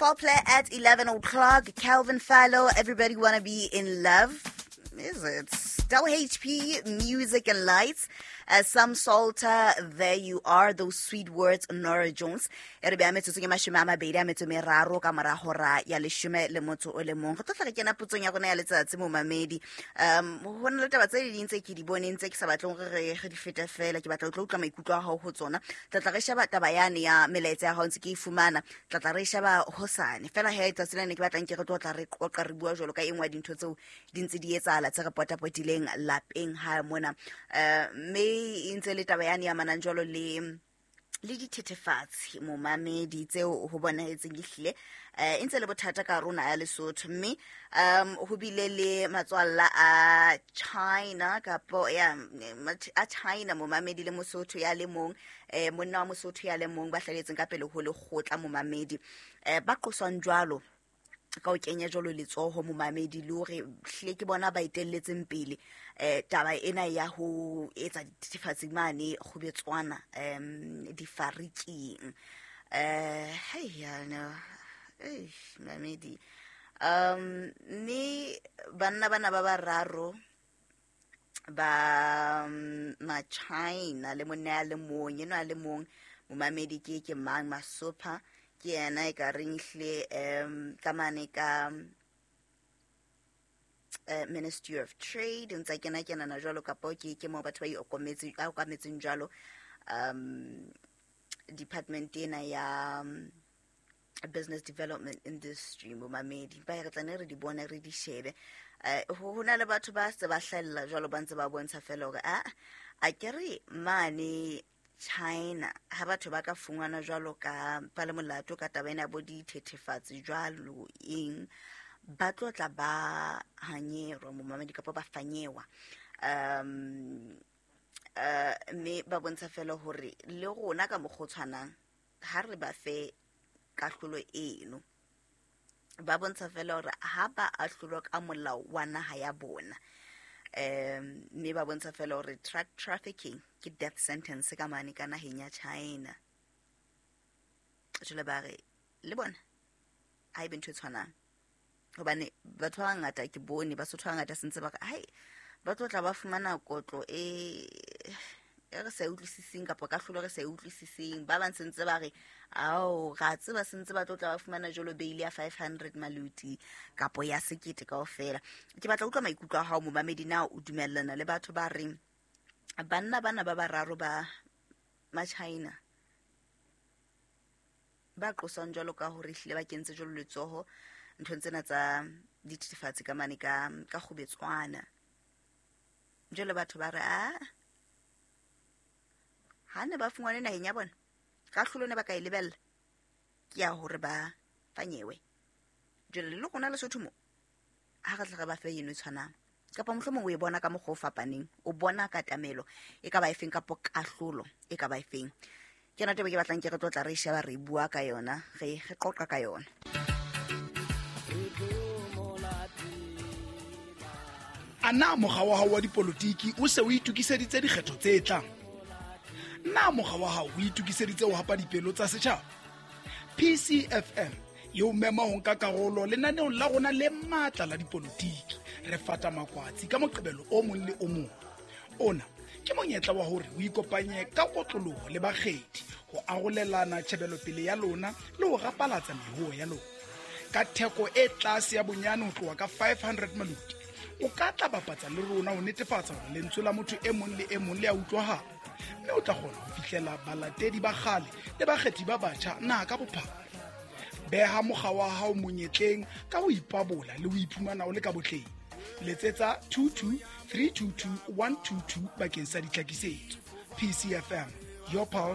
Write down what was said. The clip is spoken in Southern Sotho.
Foreplay at 11 o'clock. Calvin Fallow, Everybody Wanna Be in Love. Is it? Del HP, Music and Lights. Sam Salter, There You Are, Those Sweet Words, Nora Jones. E re bea metsotsong e 23 ka mora hora ya 11. Re tlo tla re kena potsong ya rona ya letsatsi, momamedi. Ho na le taba tse ding tse ke di boneng tse ke sa batleng hore re di fete fela. Ke batla ho tlo utlwa maikutlo a hao ho tsona. Tla tla re sheba taba yane ya melaetsa ya hao ntse ke e fumana. Tla tla re sheba hosane. Fela he tsatsi lena ke batlang ke re tlo tla re qoqa re bua jwalo ka e nngwe ya dintho tseo di ntse di etsahala tse re potapotileng lapeng ha mona. Mme e ntse le taba yane ya manang jwalo le dithethefatsi, momamedi, tseo ho bonahetseng ehlile e ntse le bothata ka rona ya Lesotho. Mme ho bile le matswalla a China kapo ya a China, momamedi, le Mosotho ya le mong, monna wa Mosotho ya le mong, ba hlaletseng ka pele ho lekgotla, momamedi, ba qoswang jwalo ka ho kenya jwalo letsoho, momamedi, le hore hlile ke bona ba etelletseng pele taba ena ya ho etsa dithethefatsi mane Kgubetswana, difariking. Hei yana, eish, mamedi, mme banna bana ba bararo ba ma-China le monna ya le mong enwa a le mong, momamedi, ke mang Masopha ke yena e ka reng ehlile ka mane ka Ministry of Trade ntse a kena kenana jwalo, kapo ke moo batho ba okametseng jwalo department ena ya business development industry, momamedi. Ba re tla ne re di bone, re di shebe. Ho na le batho ba se ba hlahella jwalo, ba ntse ba bontsha fela hore a ke re mane China ha batho ba ka fungwana jwalo ka ba le molato ka taba ena ya bo dithethefatsi jwalo eng, ba tlo tla ba hanyerwa, momamedi, kapa ba fanyewa. Mme ba bontsha fela hore le rona ka mokgwa o tshwanang ha re ba fe kahlolo eno. Ba bontsha fela hore ha ba ahlolwa ka molao wa naha ya bona, mme ba bontsha fela hore drug trafficking ke death sentence ka mane ka naheng ya China. Jwale ba re le bona ha ebe ntho e tshwanang, hobane batho ba bangata ke bone Basotho ba bangata sentse ba re hai, ba tlo tla ba fumana kotlo e re sa e utlwisiseng kapa kahlolo re sa e utlwisiseng. Ba bang sentse ba re ao, ra tseba sentse ba tlo tla ba fumana jwalo bail ya 500 maluti kapo ya 1000 kaofela. Ke batla utlwa maikutlo a hao, momamedi. Na o dumellana le batho ba reng banna bana ba bararo ba ma-China ba qoswang jwalo ka hore ehlile ba kentse jwalo letsoho nthong tsena tsa dithethefatsi ka mane ka Kgubetswana, jwale batho ba re a ha ne ba fungwane naheng ya bona, kahlolo ne ba ka e lebella ke ya hore ba fanyewe? Jwale le rona Lesotho mo ha re tla re ba fe eno e tshwanang, kapa mohlomong o e bona ka mokgwa o fapaneng, o bona katamelo e ka ba efeng kapo kahlolo e ka ba efeng? Ke yona taba ke batlang ke re tlo tla re sheba, re bua ka yona, re qoqa ka yona. A na mokga wa hao wa dipolotiki o se o itokiseditse dikgetho tse tlang? Na mokga wa hao o itokiseditse ho hapa dipelo tsa setjhaba? PCFM e o mema ho nka karolo lenaneong la rona le matla la dipolotiki, Re Fata Makwatsi, ka Moqebelo o mong le o mong. Ona ke monyetla wa hore o ikopanye ka kotloloho le bakgethi ho arolelana tjhebelopele ya lona le ho rapalatsa mehoo ya lona. Ka theko e tlase ya bonyane ho tloha ka 500 maluti, o ka tla bapatsa le rona ho netefatsa hore lentswe la motho e mong le e mong le a utlwahala, mme o tla kgona ho fihlela balatedi ba kgale le bakgethi ba batjha naha ka bophara. Beha mokga wa hao monyetleng ka ho ipabola le ho iphumana o le ka botleng. Letsetsa 22 322 122 bakeng sa ditlhakisetso. PCFM, your pulse.